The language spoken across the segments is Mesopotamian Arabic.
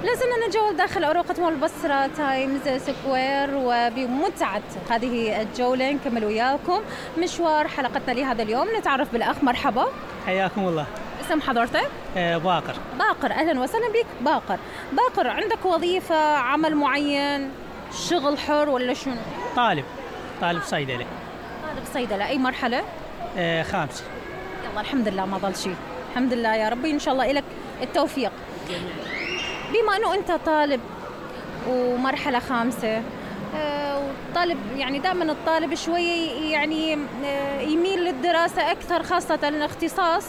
لازلنا نتجول داخل أروقة مول البصرة تايمز سكوير، وبمتعة هذه الجولة نكمل وياكم مشوار حلقتنا لهذا اليوم. نتعرف بالأخ. مرحبا، حياكم الله. اسم حضرتك؟ باقر. باقر، أهلا وسهلا بك باقر. باقر، عندك وظيفة، عمل معين، شغل حر ولا شنو؟ طالب صيدلة. طالب صيدلة، أي مرحلة؟ 5. يلا الحمد لله ما ضل شيء، الحمد لله يا ربي، إن شاء الله إلك التوفيق. بما أنه أنت طالب ومرحلة 5، وطالب يعني دائما الطالب شوي يعني يميل للدراسة أكثر، خاصة الاختصاص،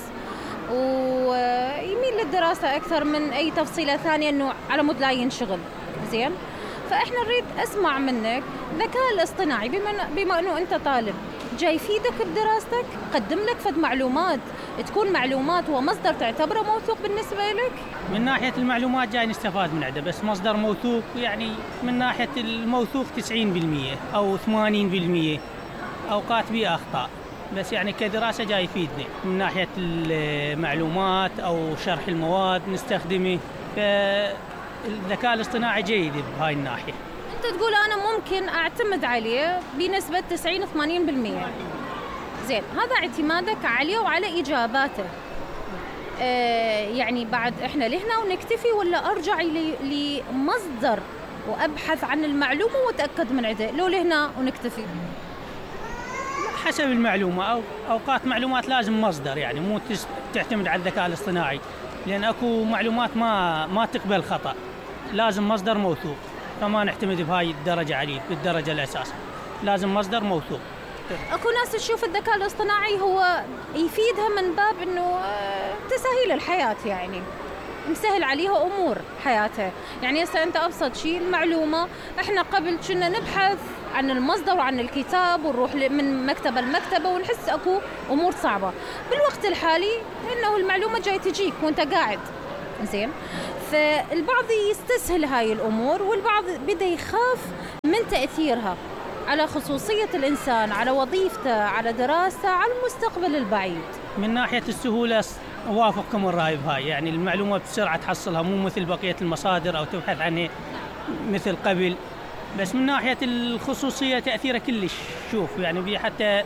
ويميل للدراسة أكثر من أي تفصيلة ثانية إنه على مود لا ينشغل. زين، فإحنا نريد أسمع منك الذكاء الاصطناعي بما أنه أنت طالب جاي يفيدك بدراستك، قدم لك فد معلومات تكون معلومات ومصدر تعتبره موثوق بالنسبة لك. من ناحية المعلومات جاي نستفاد من عنده، بس مصدر موثوق يعني من ناحية الموثوق 90% أو 80%، أوقات بيه أخطاء، بس يعني كدراسة جاي يفيدني من ناحية المعلومات أو شرح المواد نستخدمه. فالذكاء الاصطناعي جيد بهاي الناحية. أنت تقول أنا ممكن أعتمد عليه بنسبة 90-80%. زين، هذا اعتمادك عليه وعلى إجاباته. يعني بعد إحنا لهنا ونكتفي، ولا أرجع لمصدر وأبحث عن المعلومة وأتأكد من عنده، لو لهنا ونكتفي؟ حسب المعلومة، أو أوقات معلومات لازم مصدر، يعني مو تعتمد على الذكاء الاصطناعي، لأن أكو معلومات ما تقبل خطأ، لازم مصدر موثوق، فما نعتمد بهاي الدرجة عليه بالدرجة الأساس، لازم مصدر موثوق. أكو ناس تشوف الذكاء الاصطناعي هو يفيدها من باب إنه تسهيل الحياة، يعني مسهل عليها أمور حياتها. يعني هسه أنت أبسط شيء المعلومة، إحنا قبل كنا نبحث عن المصدر وعن الكتاب ونروح من مكتبة لمكتبة ونحس أكو أمور صعبة. بالوقت الحالي إنه المعلومة جاي تجيك وأنت قاعد. زين، فالبعض يستسهل هاي الأمور، والبعض بدأ يخاف من تأثيرها على خصوصية الإنسان، على وظيفته، على دراسته، على المستقبل البعيد. من ناحية السهولة أوافقكم الرأي بهاي، يعني المعلومة بسرعة تحصلها، مو مثل بقية المصادر أو تبحث عنها مثل قبل. بس من ناحية الخصوصية تأثيرها كلش. شوف يعني حتى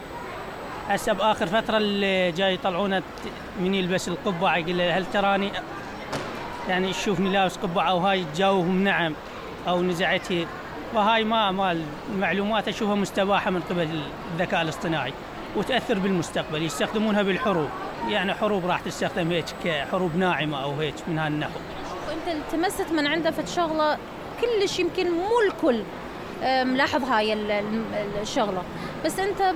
هسه بآخر فترة اللي جاي يطلعونا من يلبس القبعة يقول له هل تراني، يعني شوفني لابس قبعة، أو هاي تجاوبهم نعم أو نزعته. فهاي ما المعلومات أشوفها مستباحة من قبل الذكاء الاصطناعي، وتأثر بالمستقبل. يستخدمونها بالحروب، يعني حروب راح تستخدم هيك كحروب ناعمة أو هيك من هالنحو. وأنت التمست من عنده في شغلة كلش يمكن مو الكل ملاحظ هاي الشغلة، بس أنت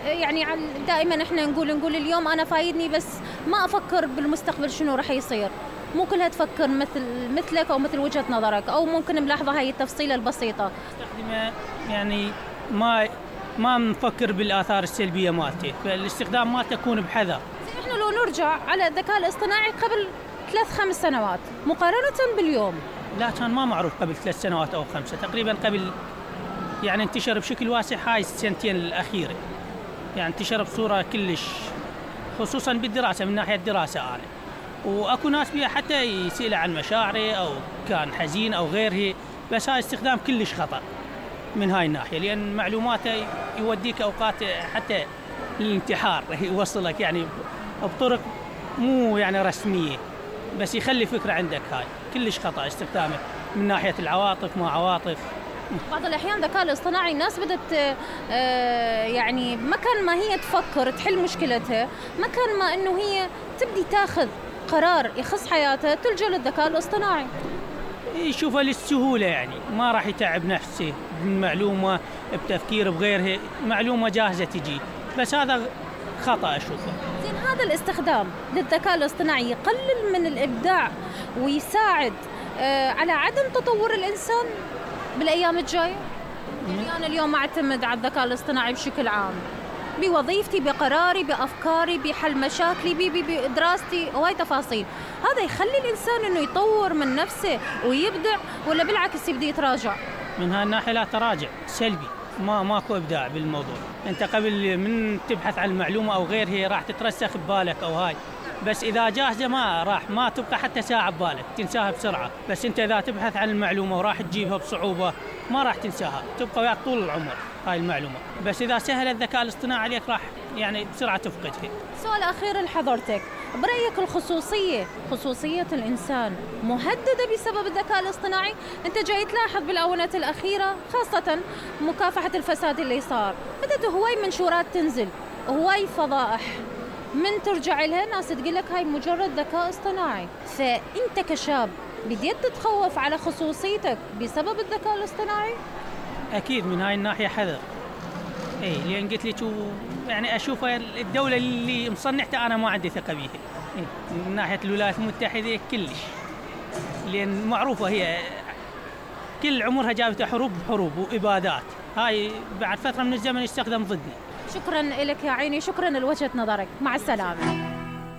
يعني دائما احنا نقول اليوم أنا فايدني، بس ما أفكر بالمستقبل شنو راح يصير. مو كلها تفكر مثلك أو مثل وجهة نظرك، أو ممكن ملاحظة هاي التفصيلة البسيطة. استخدمه يعني ما نفكر بالآثار السلبية مالته، فالاستخدام مالته يكون بحذر. احنا لو نرجع على الذكاء الاصطناعي قبل 3-5 سنوات مقارنة باليوم، لا كان ما معروف قبل 3 سنوات أو 5 تقريبا. قبل يعني انتشر بشكل واسع هاي السنتين الأخيرة، يعني انتشر بصورة كلش، خصوصا بالدراسة، من ناحية الدراسة أنا. وأكو ناس بيها حتى يسأل عن مشاعره أو كان حزين أو غيره، بس هاي استخدام كلش خطأ من هاي الناحية، لأن معلوماته يوديك أوقات حتى للانتحار، يوصلك يعني بطرق مو يعني رسمية، بس يخلي فكرة عندك. هاي كلش خطأ استخدامه من ناحية العواطف، ما عواطف. بعض الأحيان الذكاء الاصطناعي الناس بدأت يعني مكان ما هي تفكر تحل مشكلتها، مكان ما إنه هي تبدي تاخذ قرار يخص حياتها، تلجأ للذكاء الاصطناعي. يشوفها للسهولة، يعني ما راح يتعب نفسه بالمعلومة بتفكير بغيرها، معلومة جاهزة تجي، بس هذا خطأ أشوفه. زين، هذا الاستخدام للذكاء الاصطناعي يقلل من الإبداع ويساعد على عدم تطور الإنسان بالأيام الجاية. يعني أنا اليوم أعتمد على الذكاء الاصطناعي بشكل عام بوظيفتي، بقراري، بأفكاري، بحل مشاكلي، بدراستي، وهاي تفاصيل. هذا يخلي الإنسان إنه يطور من نفسه ويبدع، ولا بالعكس يبدأ يتراجع؟ من هالناحية لا، تراجع سلبي، ماكو إبداع بالموضوع. أنت قبل من تبحث عن المعلومة أو غيرها راح تترسخ ببالك، أو هاي بس إذا جاهزة ما تبقى حتى ساعة ببالك، تنساها بسرعة. بس أنت إذا تبحث عن المعلومة وراح تجيبها بصعوبة ما راح تنساها، تبقى وياك طول العمر هاي المعلومة. بس إذا سهل الذكاء الاصطناعي عليك راح يعني بسرعة تفقدها. سؤال أخير لحضرتك، برأيك خصوصية الإنسان مهددة بسبب الذكاء الاصطناعي؟ أنت جاي تلاحظ بالآونة الأخيرة خاصة مكافحة الفساد اللي صار، بدأت هواي منشورات تنزل، هواي فضائح، من ترجع لها ناس تقول لك هاي مجرد ذكاء اصطناعي. فأنت كشاب بديت تتخوف على خصوصيتك بسبب الذكاء الاصطناعي؟ أكيد من هاي الناحية حذر. لأن قلت لك يعني أشوف الدولة اللي مصنعتها أنا ما عندي ثقة بيها. من ناحية الولايات المتحدة كلش، لأن معروفة هي كل عمرها جابت حروب وإبادات، هاي بعد فترة من الزمن يستخدم ضدنا. شكرا لك يا عيني، شكرا لوجهة نظرك، مع السلامة.